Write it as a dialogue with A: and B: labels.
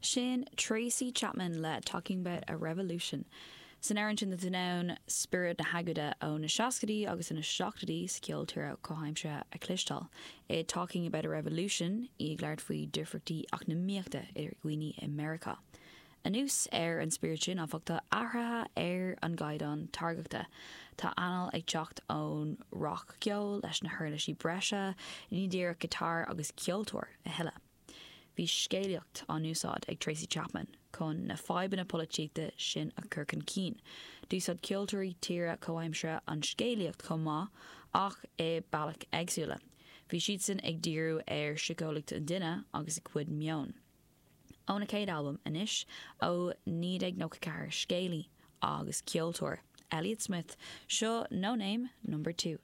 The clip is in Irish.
A: Sin Tracy Chapman le Talking About a Revolution. San amhrán sin tá tú in ann spiorad na hagóide ó na seascaidí agus ó na seachtóidí sa cheol tíre comhaimseartha a chloisteáil. I Talking About a Revolution, í ag labhairt faoi difríochtaí eacnamaíochta idir dhaoine i Meiriceá. Anuas ar an spiorad sin, áfach, tá athruithe ar an gcaighdeán táirgeachta. Tá anáil ag teacht ón rac-cheol leis na huirlisí breise, ní díreach giotár agus ceoltóir a thuilleadh. Bhí scéalaíocht á n-úsáid ag Tracy Chapman chun na fadhbanna polaitíochta sin a chur chun cinn. D'úsáid ceoltóirí tíre comhaimseartha an scéalaíocht chomh maith ach i bealaí éagsúla. Bhí siadsan ag díriú ar shíceolaíocht an duine agus a chuid meon. Óna chéad albam anois ó 1994 scéalaí agus ceoltóir, Elliott Smith, seo No Name Number 2.